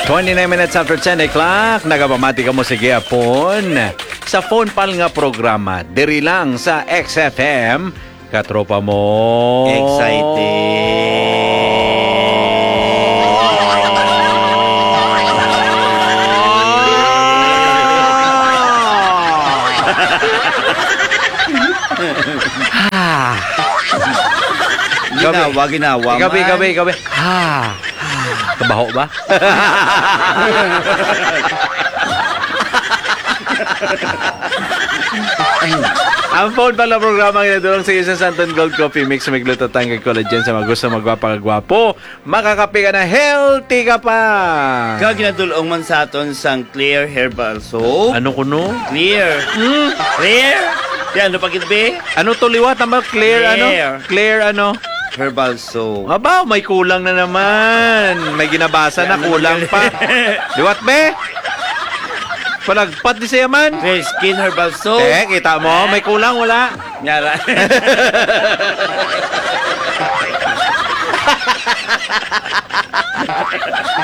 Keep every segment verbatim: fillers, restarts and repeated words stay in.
Twenty-nine minutes after ten o'clock, nagapamati kamo sa gihapon sa Phone Pal nga programa, diri lang sa X F M, katropa mo. Excited. Ah. Ginawa, ginawa Ikaw, ikaw, man. Ikaw, ikaw. Ah. Kabaho ba? Ang Phone Pal nga programa nga nadulong sa iyo sa Santon Gold Coffee Mix, may glutathione kag collagen. Sa mga gusto magwapa kag gwapo, makakape ka na, healthy ka pa. Kag ginadulong man sa aton sang Clear Herbal Soap. Ano kuno? Clear. Hmm? Clear? Yan, ano pa gid, be? Ano to liwat? Tama, clear, ano? Clear. Clear, ano? Herbal soap. Aba, may kulang na naman. May ginabasa na, kulang pa. Liwat, be? Palagpat di siya man. Fresh Skin Herbal Soap. Eh, kita mo, may kulang, wala. Nyara.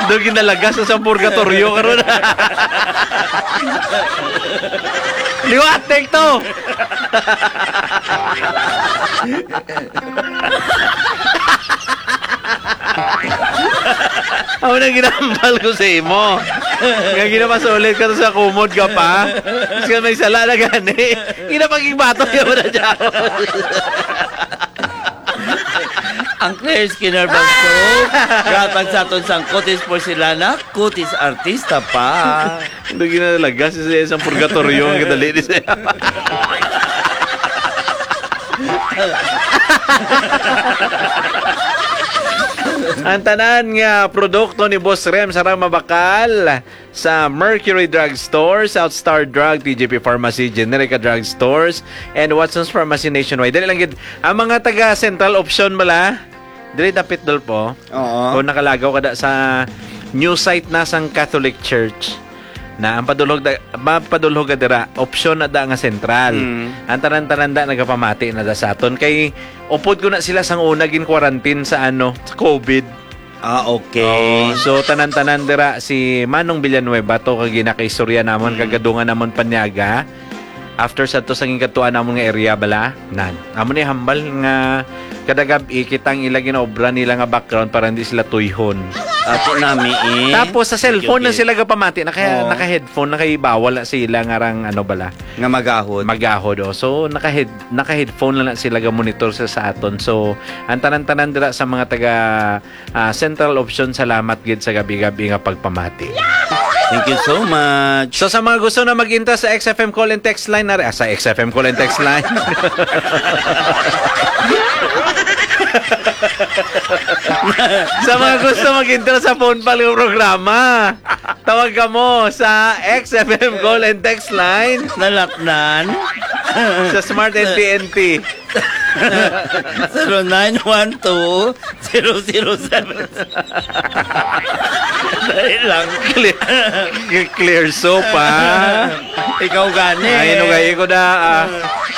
Daw ginalagas sa purgatoryo karon. Liwat, take two. Amo na ginahambal ko sa imo. Nga ginapasulit ka to sa kumod ka pa. Tapos ka may sala na gani. Ginapagigbato niya mo na dyan. Ang Clear Skin Herbal Soap, gatag sa aton sang Kutis Porcelana, Kutis Artista pa. Hindi ginalagas sa isang purgatoryo ang kadali ni siya. Ang tanan nga produkto ni Boss Rem sarang mabakal sa Mercury Drug Store, South Star Drug, T J P Pharmacy, Generica Drug Stores, and Watson's Pharmacy nationwide. Dali lang gid, ang mga taga Central Option bala, dili dapit, Dolpo. Oo. Kung nakalagaw ka da sa new site na sang Catholic Church, na ang padulhog da, mapadulhog ka dira, option na da nga Central. Mm. Ang tanan-tanan da nagapamati na da sa aton. Kay upod ko na sila sang una gin-quarantine sa, ano, sa COVID. Ah, okay. Oh, so, tanan-tanan dira, si Manong Villanueva to, kag ginakaistorya namon, Mm. kagadungan namon panyaga. After sa to, sa gingkadtuan namon nga area bala, nan. Amo ni hambal nga kada gab-i, kita ang ila ginaobra nila nga background para hindi sila tuyhon. Ato nami, eh. Tapos, sa cellphone Okay, na okay. sila gapamati, naka-, Oo. naka-headphone, nakahibawal na sila nga rang, ano bala. Nga magahod. Magahod, oh. So, naka-head-, naka-headphone lang na sila ga-monitor sa, sa aton. So, ang tanan-tanan dira sa mga taga, ah, Central Option, salamat gid sa gab-i-gab-i nga pagpamati. Thank you so much. So, sa mga gusto na mag-intra sa X F M call and text line, nari, ah, sa X F M call and text line. Sa mga gusto mag-intra sa Phone Pal nga programa, tawag kamo sa X F M call and text line. Nalatnan. Sa Smart N P N P. Zero nine one two, zero zero seven. Dali lang. Clear, clear soap, ha? Ikaw gani. Ay, nugay ko na, ah.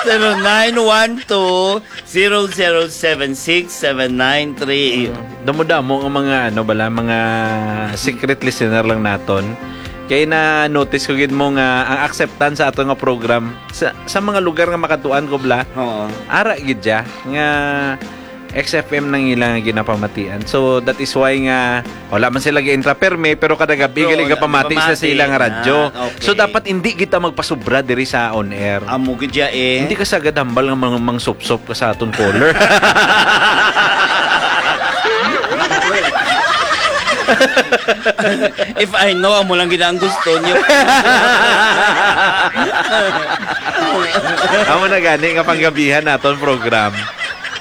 Zero nine one two, zero zero seven six seven nine three. Damo-damo nga mga, ano bala, mga secret listener lang naton. Kay na-notice ko gid mo nga ang acceptance sa ato nga program sa, sa mga lugar nga makatuan ko bala, Oo. ara gid siya nga X F M nang ilang ginapamatian. So, that is why nga wala man sila gi-intra permi, pero kada gabi Pero gali wala, gapamati sa, sa gapamati. Ilang radyo. Ah, okay. So, dapat hindi kita magpasubra diri sa on air. Amo gid ya, eh. Hindi ka sagad hambal nga mang-, mangsupsop ka sa aton caller. If I know, amo lang gid ang gusto niyo. Amo na gani nga panggabihan naton program.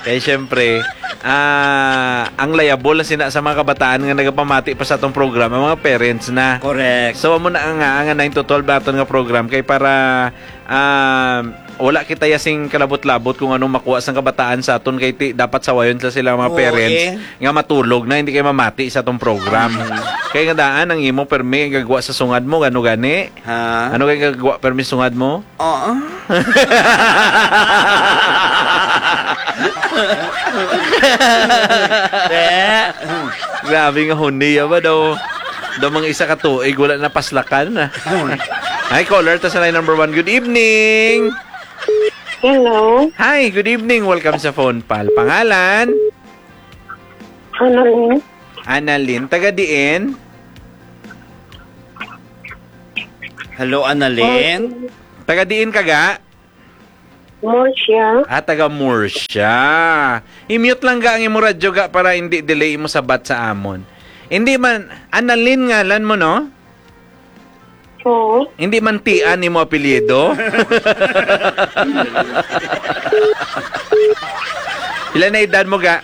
Kay syempre, ah, ang liable na sina sa mga kabataan nga nagapamati pa sa atong program, ang mga parents na. Correct. So, amo na nga, nga nine to twelve aton nga program kay para, ah, wala kita ya sing kalabot-labot kung anong makuha sang kabataan sa aton kay ti, dapat sawayon sa sila mga Oo, parents eh. nga matulog na, hindi kayo mamati sa atong program. Mm. Kay nga daan, ang imo permi, gagwa sa sungad mo, gano gani? Ha? Ano kay gagwa permi sungad mo? Oo. Te. Grabe nga huni, ya ba daw? Daw mga isa ka tuig, wala na paslakan na. Hi, caller, ta sa line number one. Good evening. Hello. Hi, good evening. Welcome sa Phone Pal. Pangalan? Annalyn. Annalyn. Taga diin? Hello, Annalyn. Taga diin ka ga? Murcia. Ah, taga Murcia. I-mute lang ga ang imo radyo ga para hindi delay imo sabat sa amon. Hindi man, Annalyn ngalan mo, no? Oo. Hindi man Tian imo apelyido? Pila na edad mo ga?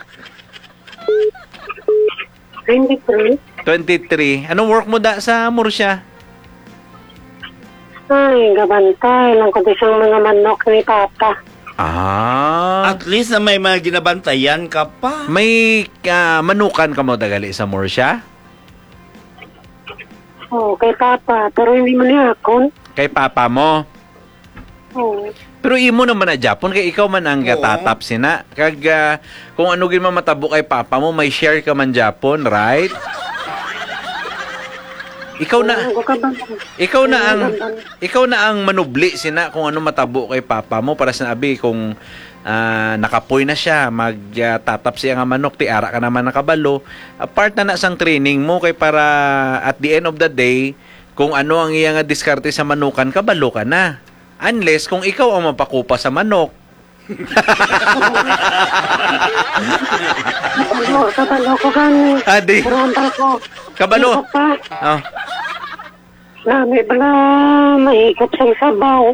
Twenty-three. Twenty-three. Anong work mo da sa Murcia? Ay, gabantay lang ko sa mga manok ni Papa. Ah. At least na may mga ginabantayan ka pa. May, ah, manukan ka mo dagali sa Murcia? Oo, kay Papa. Pero hindi man niya akon. Kay Papa mo? Oo. Pero imo naman na Japon, kay ikaw man ang Oo. gatatap sina. Kag, ah, kung ano gid man matabo kay Papa mo, may share ka man Japon, right? Ikaw na, Oo, ka ba? ikaw na Oo, ang, ka ba? ikaw na ang manubli sina kung ano matabo kay Papa mo para sinabi kung, ah, nakapoy na siya, mag, ah, tatap siya nga manok, ti ara ka naman nakabalo. Ah, part na na sang training mo kay para at the end of the day, kung ano ang iya nga diskarte sa manukan, kabalo ka na. Unless kung ikaw ang mapakupa sa manok. Kabalo, kabalo ko gani. Adi. Pero ang ko, Kabalo. Ikaw pa. Oh. Nami bala mahigop sa sabaw.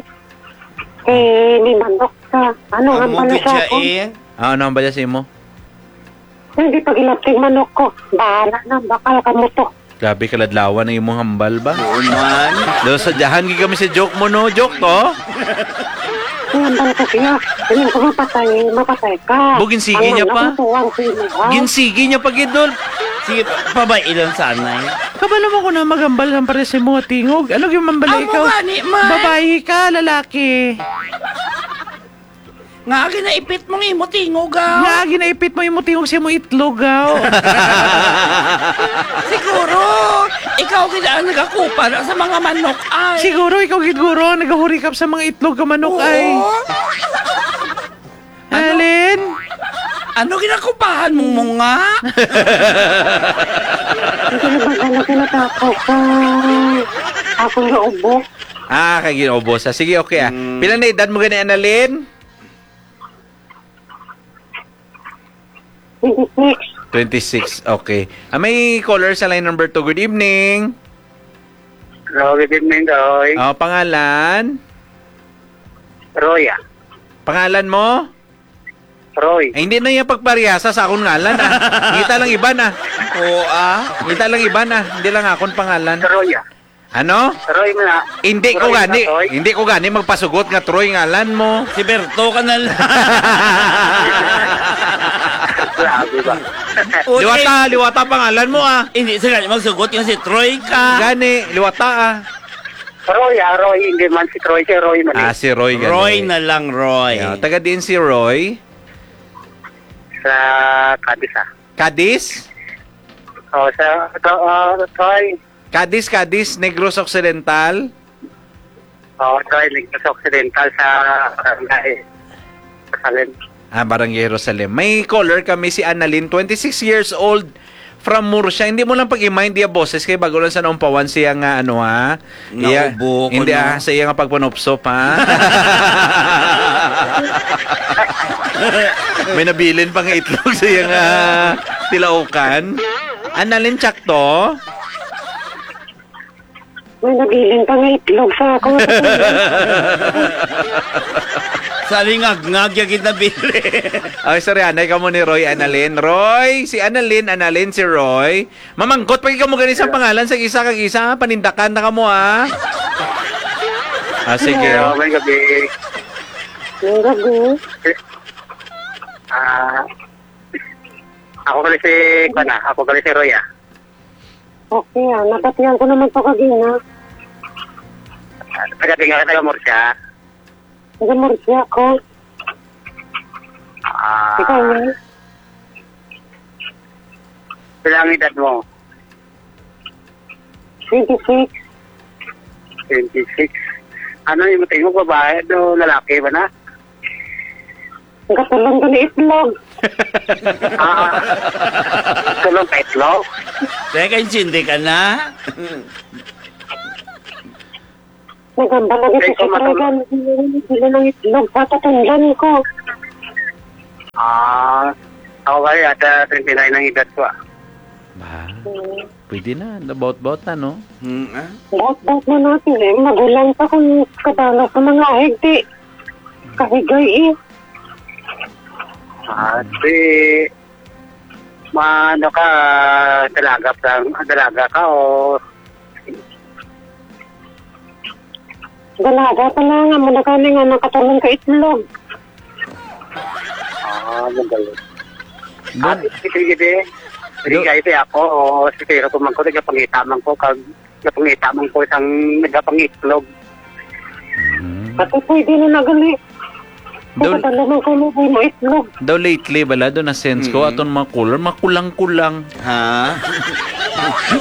Eh, may manok ka. Ano ang Amo bala gid sa siya, akon? eh. Ah, ano ang bala sa imo? Hindi pag ilapting manok ko. Bahala na, bakal ka mo to. Grabe kaladlawan ang imong hambal ba? Oo man. Do, sadyahan gid kami sa joke mo, no? Joke to? Ang hambal ko siya. Hindi ko mapatay, mapatay ka. Bo, ginsigi niya Ang pa. nakukuha ko yun, ha? Ginsigi niya pa gid, Dol. Sige, pa-, pabay ilang sanay. Kabalo mo ko na maghambal ng pares sa mga tingog. Ano yung mambala Amo ikaw? gani, man. Babae ka, lalaki. Nga ginaipit mong imo tingog, ah. Nga ginaipit mo imo tingog sa imo itlog, ah. Siguro, ikaw gid ang nagakupa na sa mga manok, ay. Siguro ikaw gid guro ang nagahurikap sa mga itlog ka manok, Oo. ay. Ano? Alin? Ano ginakupahan mong munga? Hindi na ba gano'n kinatapos sa akong naubos? Ah, kay ginaubos. Ah, sige, okay, ah. Mm. Pila na edad mo gani, Annalyn? Twenty-six. Twenty-six, okay. Ah, may caller sa line number two. Good evening. Hello, good evening, Doy. Ah, pangalan? Roy, ah. Pangalan mo? Roy. Ay, hindi na yung pagparehasa sa akong ngalan, ah. Ngita lang iban, ah. Oo, ah. Ngita lang iban, ah. Hindi lang akong pangalan. Roy, ah. Ano? Roy mo na. Hindi ko Roy gani, na, Roy. Hindi ko gani magpasugot nga Troy ngalan mo. Si Berto ka na lang. Grabe ba? O, Liwata, eh, liwata pangalan mo, ah. Hindi sa gani magsugot nga si Troy ka. Gani, liwata, ah. Roy, ah, Roy, hindi man si Troy, si Roy man, Ah, eh. si Roy gani. Roy na lang, Roy. Yeah, taga diin si Roy? Sa Cadiz, ah. Cadiz? Oh, sa, sa, ah, Troy. Cadiz, Cadiz, Negros Occidental? Oh, Troy, Negros Occidental sa barangay Jerusalem. Ah, Barangay Jerusalem. May caller kami, si Annalyn, twenty-six years old, from Murcia. Hindi mo lang pag-i-mind iya boses kay bago lang sa naumpawan siya nga, ano, ha? Iya, Naubo ko, hindi, no? ah, sa iya nga pagpanupsop, ha? May nabilin pa nga itlog sa iya nga tilaukan. Annalyn, tsakto? May nabilin pa nga itlog sa ako. Sa lingag-ngag, ya gid nabilin. Ay, sorry, anay ka mo ni Roy, Annalyn. Roy, si Annalyn, Annalyn, si Roy. Mamangkot pa gid kamo gani sa pangalan sa isa kag isa, ha? Panindakan na kamo, ha? Ah, sige. Hello, may gabi. May gabi. Ah, ako pala si, kuwan, ah, ako pala si Roy, ah. Okay, ah. Nabatian ko naman to kagina. Taga Tinga ka, taga Murcia? Taga Murcia ako. Ah. Ikaw, Roy? Pila ang edad mo? Twenty-six. Twenty-six. Ano yung tingog, babae o lalaki ba na? Gatulong ko ni itlog. Ah, tulong ka itlog? Teka, intindi ka na? Nagamba lagi Ay, sa ko matulog. Sitragan. Hindi ng itlog, patatandaan ko. Ah, ako ba, ata twenty-nine ang edad ko, ah. Ba? Hmm. Pwede na, nabaut-baut na, no? Hmm, ah? Baut-baut na natin eh. Magulang pa kung kabalo sa mga higdi. Kahigay eh. Ah, si, ma, ano ka, dalaga pa, dalaga ka o Dalaga pa lang, amo na kani nga nakatulong ka itlog. Ah, magaling. Don- Ate, sige, sige. Sige, Do- kayo, te, ako, o, si Tiro ko man ko, nagapangita man ko, kag, nagapangita man ko, isang nagapangitlog. Mm. Ate, pwede na nagali. Daw, Ang kadalaman ko mo, mo itlog. Daw lately, bala, doon na sense ko, Mm. aton mga color, makulang-kulang. Ha?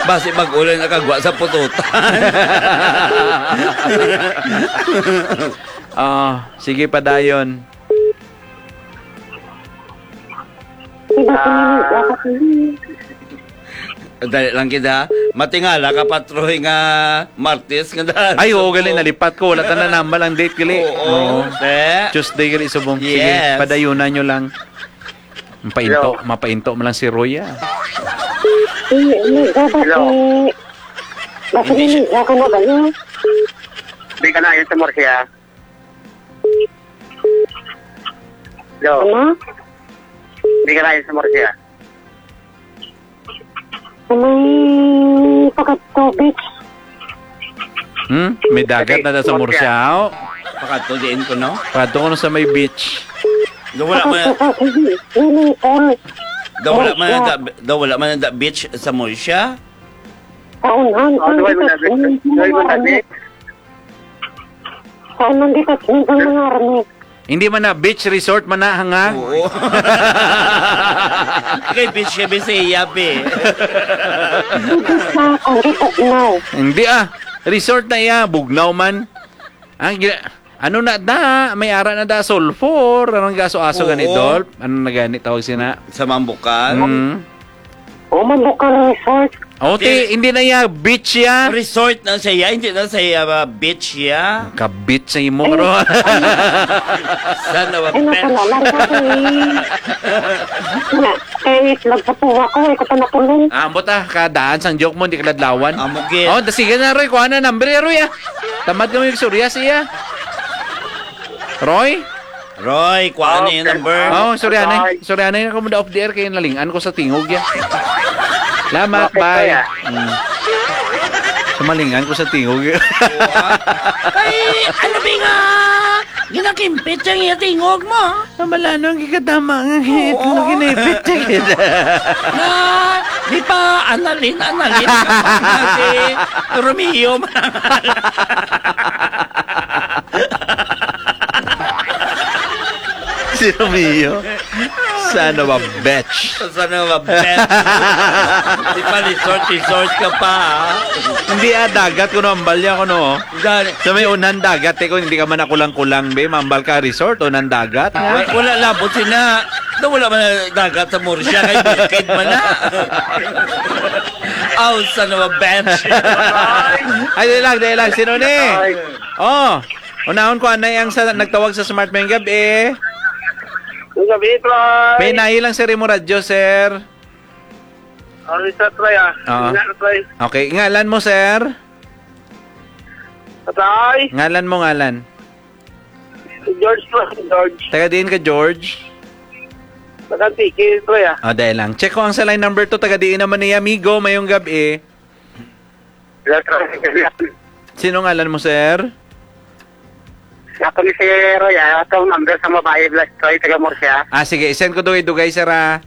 Basi mag-ulan nakagwa sa pututan. Ah, sige, padayon. Diba, Ah. pinili ako sa Dali lang kita. Matingala ka, Patroy, nga Martes nga daan. Ay, oo, gali, nalipat ko. Wala ta na nambal ang date, gali. Oo, Oo. te. Tuesday, gali, subong. Sige, Yes. padayunan nyo lang. Mapainto, Hello. mapainto mo lang si Roy, ah. Hindi, hindi, dapat Hello. eh, basta Hindi siya niligo ka na ba yun? Di ka na yun sa Murcia. Hello. Ano? Hindi ka na yun sa Murcia. Sa may Pagkatubig. Hmm? May dagat Sige, na da sa Murcia. Murcia, oh. Pakadto diin ko, no? Pakadto ko na sa may beach. Do wala man, Pakadto sa sige, swimming pool. Do wala man Murcia. ang da-, do wala man ang da-, beach sa Murcia? Kaunan, Oh, ang duway mo dito, na, swimming pool duway mo na na, kami. Saan nandito ang mga army? Hindi man na beach resort man na, hanga? Oo. Kay beach kami sa iya, be. Hindi sa, hindi Bugnaw. Hindi, ah. Resort na iya, Bugnaw man. Ang gi-, ano na da? May ara na da, sulfur. Anong gaso-aso Oo. gani, Dolph? Ano na gani tawag sina? Sa Mambukan? Mm. Oh, Mambukan Resort. Oh, ti, Ti- hindi na iya beach ya. Resort na siya, hindi na siya, uh, beach ya. Ka-beach sa imo, Ay, karon. Sana wa Ay, bet. Nasa naman ko, eh. Na, eh, nagpapuwa ko, eh, ko pa nakulong. Ah, ambot, ah, kadaan sang joke mo, hindi ka ladlawan. Amo gid. Oh, da-, sige na, Roy, kuha na number ya, Roy, ah. Tamad kami yung surya siya. Roy? Roy, kuha na yung Okay. number. Oh, sorry, anay. Bye. Sorry, anay. Ako mo da off the air kay nalingan ko sa tingog ya. Salamat, Okay, bye. kuya. Mm. Sumalingan ko sa tingog ya. Ay, ano ba nga? Ginakimpit ang iya tingog mo. Ang malano ang gikatama nga Oo. itlog, ginipit siya gid. Na, di pa, analin, analin. Si Romeo. Si Romeo. Son of a bitch. Son of a bitch. Di pa resort, resort ka pa, ha? Hindi, ah, dagat ko no, ambal niya ko no. Gani. Sa may unan dagat, eh, kung hindi ka man nakulang-kulang, be, mambal ka resort, unan dagat, ha? Wa-, wala labot sina. Da, wala man na dagat sa Murcia, kay bukid man na. Aw, son of a bitch. Ay, dali lang, dali lang. Sino ni? Ay. Oh, unahon ko, anay ang sa, nagtawag sa Smart Mayong Gabi. Mayong gabi, Troy. Pinahi lang, sir, imo radyo, sir. Ano sa Troy, ah? Oo. Nga, Troy. Okay, ngalan mo, sir? Patay. Ngalan mo, ngalan? George, Troy, George. Taga diin ka, George? Taga Antique, Troy, ah. Oh, dahil lang. Check ko ang sa line number two. Taga diin naman ni amigo. Mayong gabi. Hello, Troy. Sino ngalan mo, sir? Ako ni si Roy, ah. Atong number sa babae, Blas Troy, taga Murcia. Ah, sige. I-send ko dugay-dugay, sir, ah.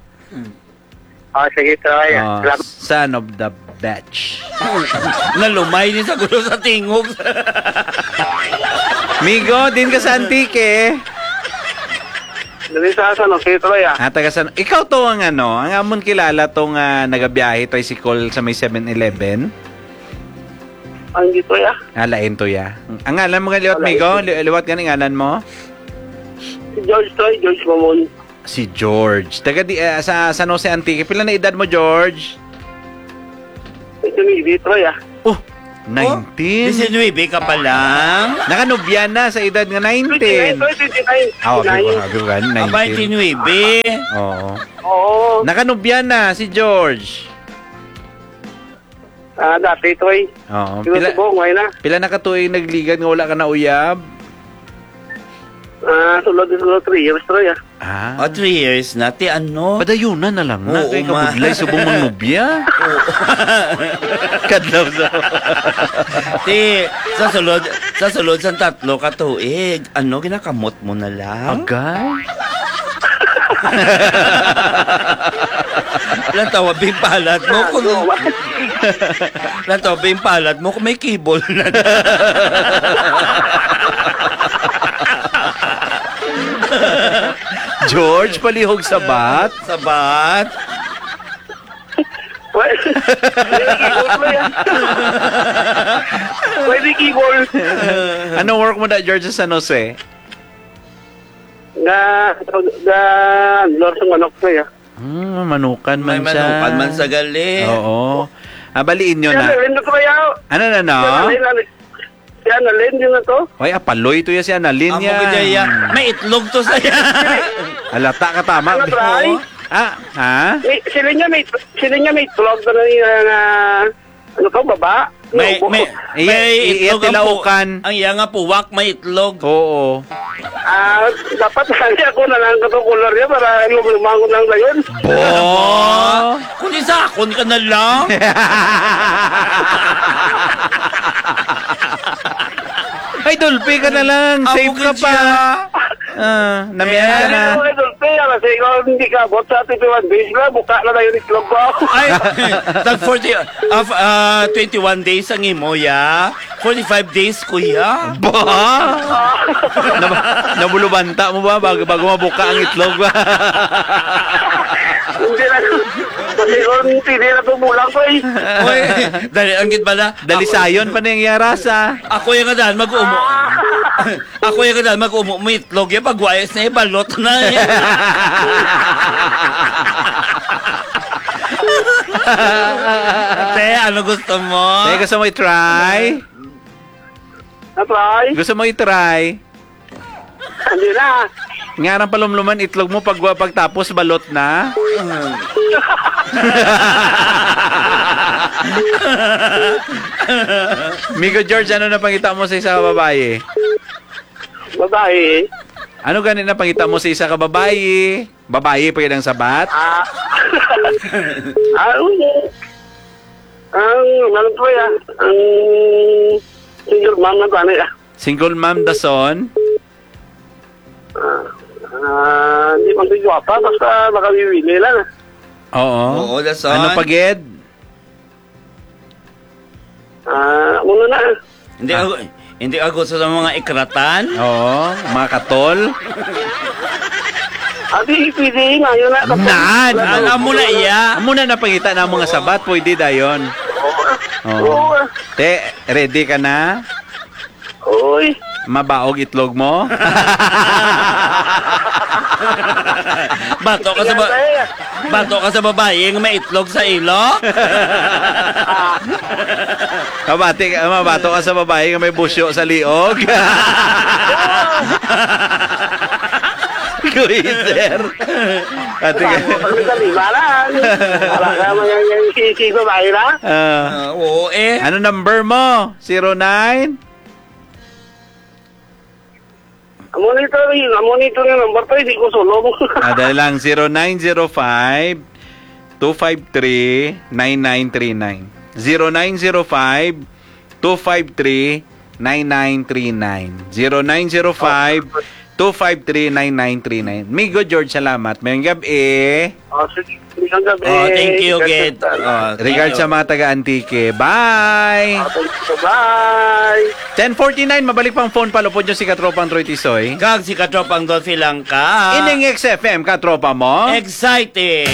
Oh, sige, Troy. Ah, Oh, salamat. Son of the batch. Nalumay ni sa gulo sa tingog. Migo, din ka sa Antique. Dali sa San Jose, Troy, ah. Ah, taga San, ikaw to ang ano, ang amon kilala tong, ah, nagabiyahe tricycle sa may seven eleven? Ang dito ya. Ah, lain to ya. Ang ngalan mo nga liwat, Ah, lain migo? to. Li-, liwat gani ngalan mo? Si George to, George Mamon. Si George. Taga di, ah, sa San Jose, Antique. Pila na edad mo, George? Ito ni Vitro ya. Oh, nineteen. Diecinuebe ka pa lang? Nakanubya na sa edad nga nineteen. Twenty-nine, twenty-nine. Ah, abi ko, abi ko, nineteen. Abay, twenty-nine. Oo. Oo. Nakanubya na si George. Ah, dati ito eh. Oo. Yung Pila, subong, wala na. Pila na ka tuig nagligad nga wala ka na uyab? Ah, sulod siguro three years to ya. Ah. Ah, three years na. Ti ano? Padayunan na lang na. Oo, Kay ma- kabudlay subong mangnubya. Oo. Kadlaw sa Ti, sa sulod, sa sulod sa tatlo ka tuig, ano, ginakamot mo na lang? Agay. Lantawa, bing palad mo kung Ano? Lantawa, bing palad mo kung may kibol na. George, palihog sabat. Sabat. Pwede keyboard mo yan. Pwede keyboard. Ano work mo na, George, sa San Jose? Nga, nga, handler sa manok ko ya. Hmm, manukan May man siya. Manukan man sa gali. Oo. Ah, bali inyo Siya na. na rin na kaya. Ano na, no? Siya na rin, ano, siya na rin, yun na to. Ay, apaloy to ya si Annalyn Amo ya. Gid ya. May itlog to sa iya. Alata ka tama. Ano, Bri? Oo. Ah, ha? May, sila niya may, sila niya may itlog na, na, na, ano to, baba? May, Ubo. may, Eh, may i-, itlog ang pu-, itilaukan. Ang iya nga puwak, may itlog. Oo. Ah, dapat lagi ako na lang katong color niya para lumang ko lang dayon. Bo! Kundi sa akon ka na lang. Ay, Dolphy ka na lang. Amo Safe ka gid pa. Siya. Ah, namihan ka na. Ano, ano, ano, ano, kasi ikaw hindi ka abot sa thirty-one days na, buka na tayo ni Club ba? Ay, tag forty, ah, f-, ah, twenty-one days ang imo, ya. Forty-five days, kuya. Ba? Nab-, nabulubanta mo ba bago, bago mabuka ang itlog? Hindi na. Kasi kung hindi na tumulang ko eh. Oy, dali, ang gid bala. Dalisayon pa na yung yarasa. Ako yung nga daan, mag-umo. Ako yung kadal mag-umo mo itlog, yung pagwayas na ibalot na, eh. Te, ano gusto mo? Te, gusto mo i-try? Na-try? Gusto mo i-try? Hindi na. Nga nang palumluman itlog mo pag, pagtapos balot na? Migo George, ano na pangita mo sa isa ka babayi? Babayi. Ano gani na pangita mo sa isa ka babayi? Babayi pa gid ang sabat? Ah. Ah, oo. Ang, ano po ya? Ang single mom na ba niya? Single mom, dason? Ah, ah, hindi man siya gwapa, basta makawiwili lang. Oo. Oo, dason. Ano pa gid? Ah, muna na. Hindi Ah. ako, hindi ako sa mga ikratan. Oo, mga katol. Abi, pwede na, yun na. Nan, Ano? alam mo na iya. Amo na napangita na mga sabat, pwede dayon. Oo. Oo. Oo. Te, ready ka na? Uy. Mabaog itlog mo? Bato ka sa ba-, Yan, eh. Bato ka sa babayi nga may itlog sa ilok? Kabati ka, mabato ka sa babayi nga may busyo sa liog? Kuya, sir. Ate ka. Ang kalibaran. Wala ka man yung, yung sisi babae na? Ah. Ah, oo, eh. Ano number mo? Zero nine? Amo nito, amo nito nga number to, hindi ko sulong. Ah, dali lang, zero nine zero five, two five three, nine nine three nine. Zero nine zero five, two five three, nine nine three nine. Zero nine zero five, two five three, nine nine three nine. Migo George, salamat. Mayong gabi. Oh, sige. Magandang gabi. Oh, thank you, God bless, gid. Sir. Oh, thank Regards you. Sa mga taga Antique. Bye! Oh, thank you. Bye! Ten forty-nine, mabalik pang phone, palupod nyo si Katropang Troy Tisoy. Kag si Katropang Dolphy Langka. Ining X F M, Katropa mo. Exciting!